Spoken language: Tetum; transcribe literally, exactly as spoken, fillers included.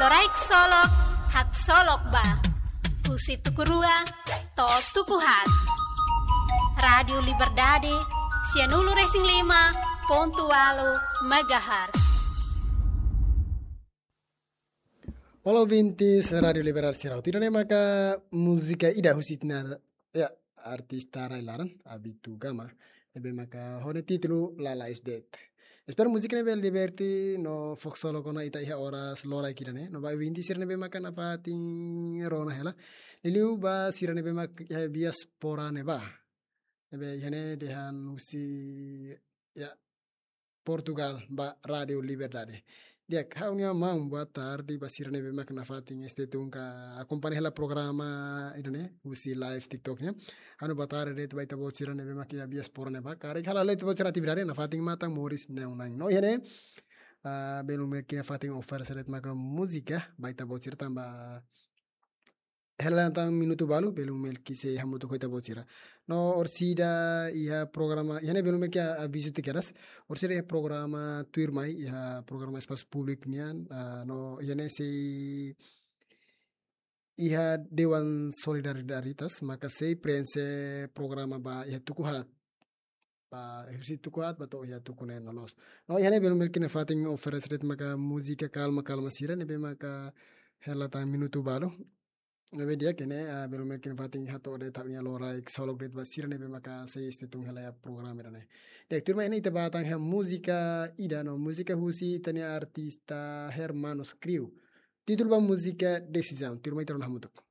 Loraik Solok, haksolok ba. Husi tuku rua to'o tuku haat. Rádiu Liberdade, sianulu-resin-lima pontu ualu megahertz. Olá, ouvintes Rádiu Liberdade sira. Ida-ne'e maka múzika ida husi ita-nia, ya, artista rai-laran, Abitu Gama. Ne'ebé maka ho nia títulu Lalais De'it. Espera múzika ne'e bele diverte no haksolok ona ita iha oras loraik ida-ne'e. No ba ouvintes sira ne'ebé maka nafatin rona hela. Liuliu ba sira ne'ebé maka iha diáspora ne'ebá. Ne'ebé iha ne'e dehan husi, ya, Portugal ba Rádiu Liberdade. Di'ak, ha'u-nia maun, boa tarde ba sira ne'ebé maka nafatin este tun ka akompaña hela programa ida-ne'e husi live TikTok nian. Ha'u-nia boa tarde de'it ba ita-boot sira ne'ebé maka iha diáspora ne'ebá. Karik hela ita-boot sira atividade nafatin matan moris neon nang. No iha ne'e, ah, belun Melki nafatin oferese de'it maka múzika ba ita-boot sira tanba hela tan minutu balu, belun Melki sei hamutuk ho ita-boot sira. No orsida iha programa, iha ne'e belun Melki avizu tiha kedas. Orsida iha programa tuirmai, iha programa espasu públiku nian, ah, no iha ne'e sei iha Dewan Solidariedade, maka sei prenxe programa ba iha tuku haat. Ba husi tuku haat ba to'o iha tuku neen loloos. No iha ne'e belun Melki nafatin oferese de'it maka múzika kalma-kalma sira ne'ebé maka hela tan minutu balu. Ne'ebé di'ak ne'e, ah, belun Melki nafatin hato'o de'it ha'u-nia loraik haksolok de'it ba sira ne'ebé maka sei este tun hela iha programa ida-ne'e. Di'ak, tuirmai ne'e ita bá tan iha múzika ida no múzika husi ita-nia artista Hermanos Crew. Títulu ba múzika Desizaun. Tuirmai ita rona hamutuk.